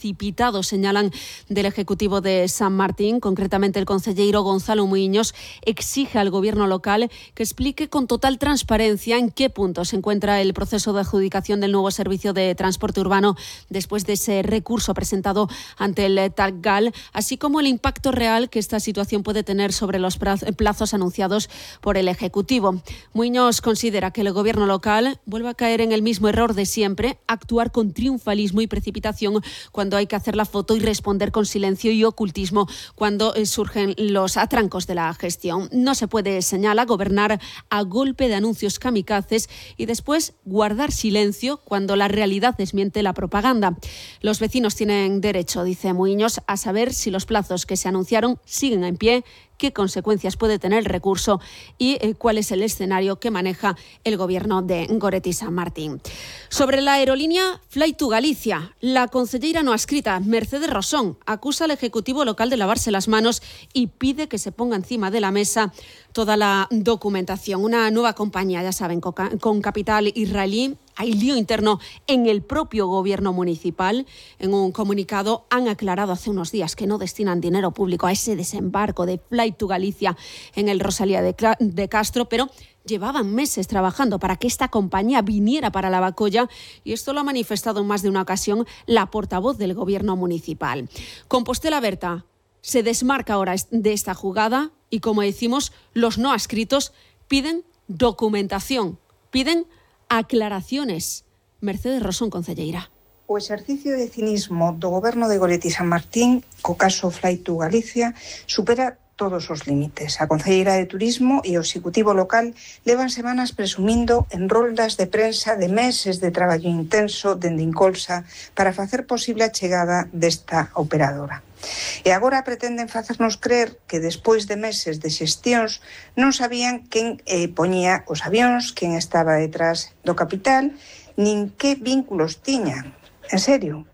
precipitado, señalan del Ejecutivo de San Martín. Concretamente, el concelleiro Gonzalo Muiños exige al Gobierno local que explique con total transparencia en qué punto se encuentra el proceso de adjudicación del nuevo servicio de transporte urbano después de ese recurso presentado ante el TACGAL, así como el impacto real que esta situación puede tener sobre los plazos anunciados por el Ejecutivo. Muiños considera que el Gobierno local vuelve a caer en el mismo error de siempre, actuar con triunfalismo y precipitación cuando hay que hacer la foto y responder con silencio y ocultismo cuando surgen los atrancos de la gestión. No se puede, señala, gobernar a golpe de anuncios kamikazes y después guardar silencio cuando la realidad desmiente la propaganda. Los vecinos tienen derecho, dice Muiños, a saber si los plazos que se anunciaron siguen en pie, qué consecuencias puede tener el recurso y cuál es el escenario que maneja el Gobierno de Goretti San Martín. Sobre la aerolínea Fly to Galicia, la concelleira no adscrita Mercedes Rosón acusa al Ejecutivo local de lavarse las manos y pide que se ponga encima de la mesa toda la documentación. Una nueva compañía, ya saben, con capital israelí. Hay lío interno en el propio gobierno municipal. En un comunicado han aclarado hace unos días que no destinan dinero público a ese desembarco de Fly to Galicia en el Rosalía de Castro, pero llevaban meses trabajando para que esta compañía viniera para la Bacolla y esto lo ha manifestado en más de una ocasión la portavoz del gobierno municipal. Compostela Berta se desmarca ahora de esta jugada y, como decimos, los no adscritos piden documentación, piden aclaraciones. Mercedes Rosón, concelleira. O exercicio de cinismo do Goberno de Goretti San Martín co caso Fly to Galicia supera todos os límites. A concelleira de Turismo e o Executivo local levan semanas presumindo en roldas de prensa de meses de traballo intenso dende Incolsa para facer posible a chegada desta operadora. E agora pretenden facernos creer que despois de meses de xestións non sabían quen poñía os avións, quen estaba detrás do capital, nin que vínculos tiñan. En serio,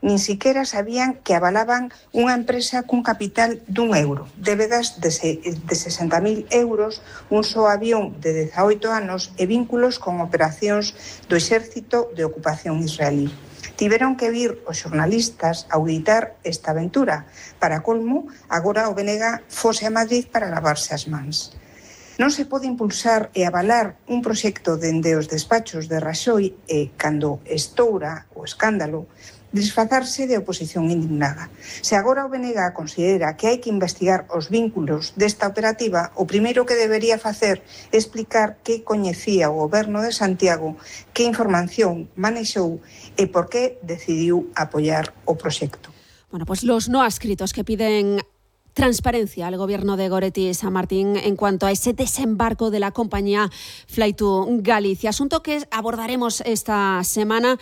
nin siquiera sabían que avalaban unha empresa cun capital d'1 euro, débedas de 60.000 euros, un só avión de 18 anos e vínculos con operacións do exército de ocupación israelí. Tiveron que vir os xornalistas a auditar esta aventura. Para colmo, agora o BNG fose a Madrid para lavarse as mans. Non se pode impulsar e avalar un proxecto dende os despachos de Raxoi e, cando estoura o escándalo, disfrazarse de oposición indignada. Se agora o BNG considera que hai que investigar os vínculos desta operativa, o primeiro que debería facer é explicar que coñecía o Goberno de Santiago, que información manexou e por que decidiu apoiar o proxecto. Bueno, pues los no adscritos que piden transparencia al Gobierno de Goretti San Martín en cuanto a ese desembarco de la compañía Fly to Galicia. Asunto que abordaremos esta semana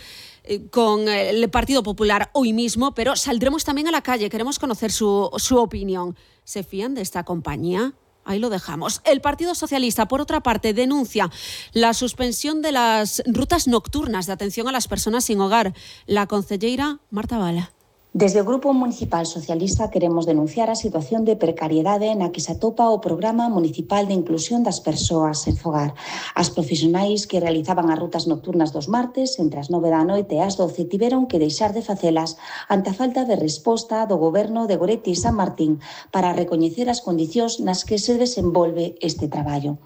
con el Partido Popular hoy mismo, pero saldremos también a la calle. Queremos conocer su opinión. ¿Se fían de esta compañía? Ahí lo dejamos. El Partido Socialista, por otra parte, denuncia la suspensión de las rutas nocturnas de atención a las personas sin hogar. La concelleira Marta Bala. Desde o Grupo Municipal Socialista queremos denunciar a situación de precariedade na que se atopa o Programa Municipal de Inclusión das Persoas sen Fogar. As profesionais que realizaban as rutas nocturnas dos martes entre as 9 da noite e as 12 tiveron que deixar de facelas ante a falta de resposta do Goberno de Goretti San Martín para recoñecer as condicións nas que se desenvolve este traballo.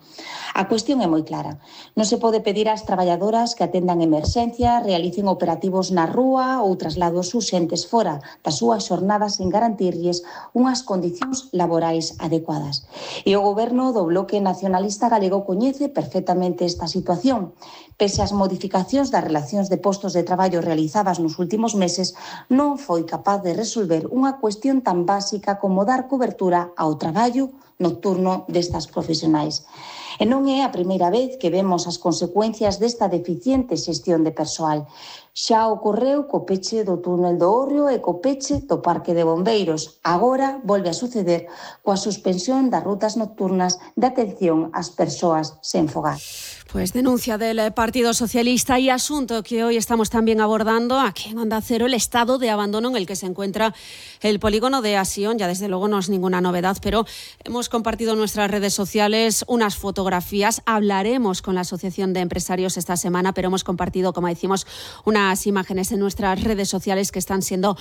A cuestión é moi clara. Non se pode pedir ás traballadoras que atendan emerxencias, realicen operativos na rúa ou traslados urxentes fora das súas xornadas sen garantirlles unhas condicións laborais adecuadas. E o Goberno do Bloque Nacionalista Galego coñece perfectamente esta situación. Pese ás modificacións das relacións de postos de traballo realizadas nos últimos meses, non foi capaz de resolver unha cuestión tan básica como dar cobertura ao traballo nocturno destas profesionais. E non é a primeira vez que vemos as consecuencias desta deficiente xestión de persoal. Xa ocorreu co peche do túnel do Hórreo e co peche do Parque de Bombeiros. Agora volve a suceder coa suspensión das rutas nocturnas de atención ás persoas sen fogar. Pues denuncia del Partido Socialista y asunto que hoy estamos también abordando aquí en Onda Cero, el estado de abandono en el que se encuentra el polígono de Asión. Ya desde luego no es ninguna novedad, pero hemos compartido en nuestras redes sociales unas fotografías. Hablaremos con la Asociación de Empresarios esta semana, pero hemos compartido, como decimos, unas imágenes en nuestras redes sociales que están siendo